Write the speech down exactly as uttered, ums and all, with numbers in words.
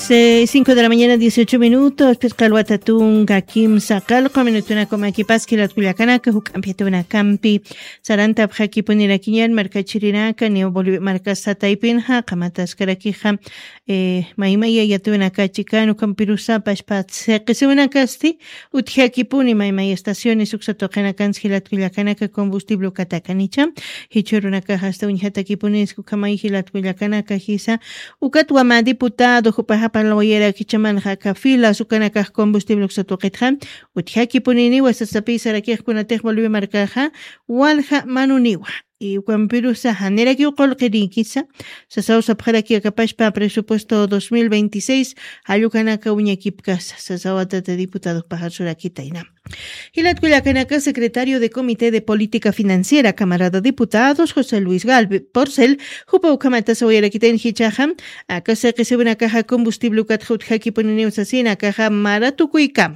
Cinco de la mañana, dieciocho minutos. Pisqalwata tunka kimsa qalqu minutunaku makipas jilatkullakanaka juk'ampi tunakampi sarantapxakipunirakiñan markachirinaka niw Bolivia markasa taypinxa qamataskarakixa. Maymaya yatunakachikan ukampirusa pashpat siqisiwinakasti utjakipuni maymaya estaciones uksatuqinakansi jilatkullakanaka combustible ukatakanicha. Jichurunakaxa asta uñjatakipunisku kamay jilatkullakanaka jisa. Ukatwa mä diputado jupaxa parlawayarakichamanxa aka filas ukanakax combustible uksa tuqitxa utjakipuniniwa sasapi sarakixkunatix Bolivia markaxa walja manuniwa. Ukampirusa janirakiw qullqirikisa sasaw sapxaraki akapashpa presupuesto dos mil veintiséis jallukanaka uñakipkasa sasawatata diputado pajarsurakitayna. Jilatkullakanaka secretario de comité de política financiera camarada diputados josé luis galve porcel jupa ukhamata sawayarakitayn jichaxa aka siqisiwinakaxa combustible ukatxa utjakipuniniw sasina akaxa mara tukuykama.